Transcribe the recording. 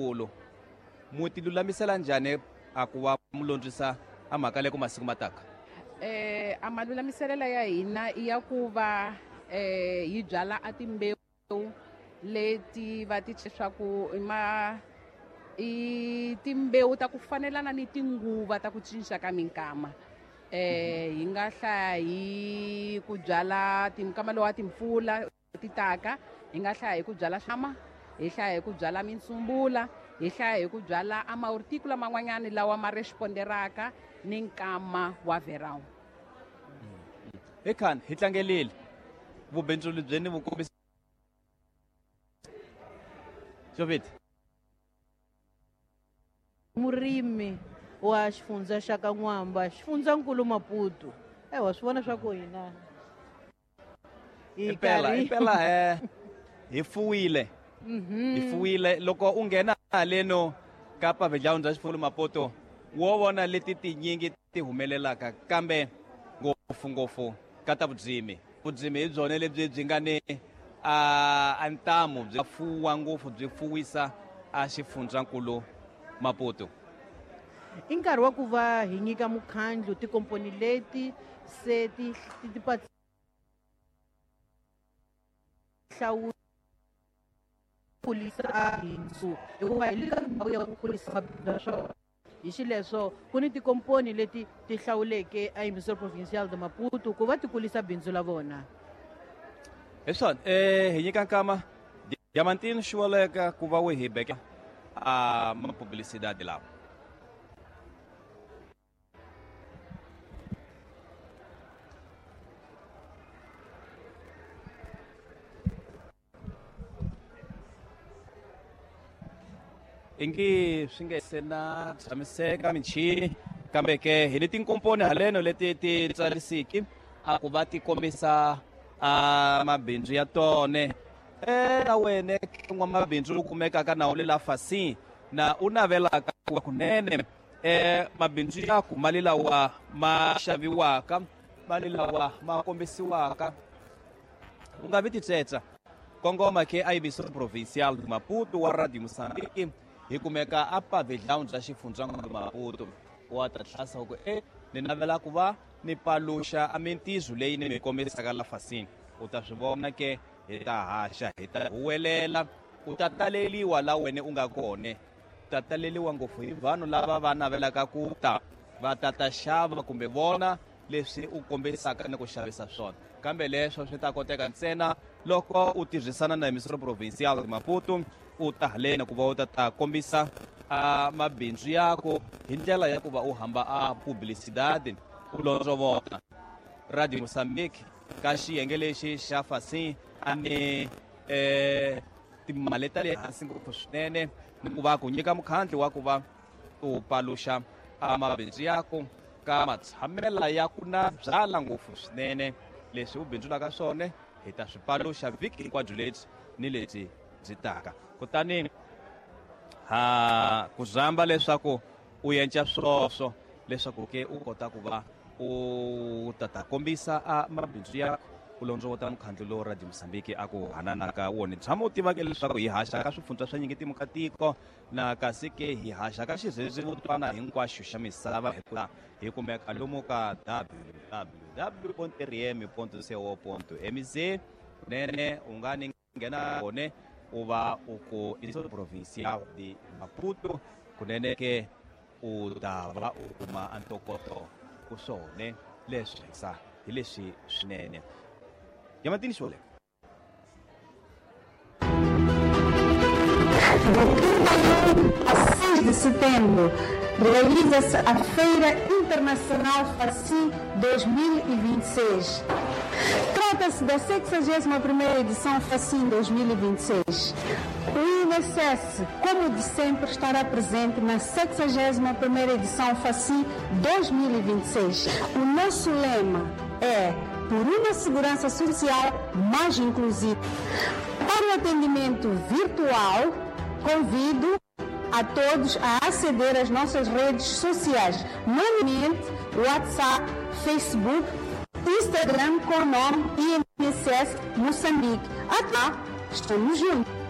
Leyikulu mu ti lulamisela njhani a ku va mu londzisa a mhaka leyi ku masiku ma taka? A malulamiselela ya hina i ya ku va hi byala a timbewu leti va ti leswaku i ma i timbewu ta ku fanelana ni tinguva ta ku cinca ka minkama. Hi nga hlaya hi ku byala tinkama lowa timpfula ti taka, hi nga hlaya hi ku byala swama, hi hlaya hi ku byala mintsumbula, hi hlaya hi ku byala a mahorticola man'wanyani lawa ma responderaka ni nkama wa verão. Hi khani hi tlangelile vubindzuli byi ni vukombisa Jovit. Murimi wa xifundza xa ka N'wamba, xifundzankulu Maputo. Wa swi vona swa ku hina hi Impela, karhi impela, hi fuwile. Hi fuwile. Loko u nghena haleno ka pavilhão bya xifundza Maputo, wo vona leti tinyingi ti humelelaka, kambe ngopfu-ngopfu ka ta vudzimi. Vudzimi hi byona lebyi byi nga ni a ntamu, byi fuwa ngopfu, byi fuwisa a xifundzankulu Maputo. I nkarhi wa ku va hi nyika mukhandlu tikomponi leti se ti ti hlawula kulisa bindzu, hikuva hi le ka ndhawu ya ku kurisa mabindzu ya swona. Hi xileswo ku ni tikomponi leti ti hlawuleke a Emissora Provincial de Maputo ku va ti kulisa bindzu la vona. Hi swona, hi nyika nkama Diamantino Xiwaleka ku va wu hi beka a mapublicidade lawa. Ingi swi nge se na tshamiseka michini, kambe ke hi ni tinkomponi haleno leti ti tsarisiki a ku va ti kombisa a mabindzu ya tone. Na wene n'wamabindzu u kumekaka na u le la Facim na u navelaka ku kunene mabindzu ya ku mali lawa ma xaviwaka, mali lawa ma kombisiwaka, u nga vi titsetsa. Kongoma ke a Emissora Provincial de Maputo wa Radio Mozambique, hi kumeka a pavilhão bya xifundzankulu Maputo. Wa ta tlhasa ku ni navela ku va ni paluxa a mintizo leyi ni mi kombisaka la Facim. U ta swi vona ke, hi ta haxa, hi ta huwelela, u ta taleliwa la wena u nga kona. U ta taleliwa ngopfu hi vanhu lava va navelaka ku ta va ta ta xava kumbe vona leswi u kombisaka ni ku xavisa swona. Kambe leswo swi ta koteka ntsena loko u tirhisana na Emissora Provincial de Maputo, u ta haleni ku va u ta ta kombisa a mabindzu yaku hi ndlela ya ku va u hamba a publicidade u londzovota Radio Mozambique ka xiyenge lexi xa Facim a ni timali ta le hansi ngopfu swinene, ni ku va ku nyika mukhandlu wa ku va u paluxa a mabindzu yaku ka matshamela ya ku na byala ngopfu swinene. Leswi u bindzulaka swona hi ta swi paluxa vhiki hinkwabyo lebyi ni lebyi byi taka. Kutani ha ku zamba leswaku u yenca swoswo leswaku ke u kota ku va u ta ta kombisa a mabindzu ya u londzovota mukhandlu lowu Radio Mozambique a ku hananaka wona. Tshama u tiva ke leswaku hi haxa ka swifundza swa nyingi timu ka tiko, na kasi ke hi haxa ka xirhendzevutwana hinkwaxo xa misava, hikuva hi kumeka lomu ka w w w point r m point c o point m z. Kunene u nga ni nghena kone u va u ku Emissora Provincial de Maputo, kunene ke u ta va u kuma ntokoto ku swone leswi sa hi leswi swinene. Yamatini Xole. A 6 de setembro realiza-se a Feira Internacional Facim 2026. Trata-se da sexagésima primeira edição Facim 2026. O INSS, como de sempre, estará presente na sexagésima primeira edição Facim 2026. O nosso lema é por uma segurança social mais inclusiva. Para o atendimento virtual, convido a todos a aceder às nossas redes sociais, nomeadamente WhatsApp, Facebook, Instagram com o nome INSS Moçambique. Até lá, estamos juntos.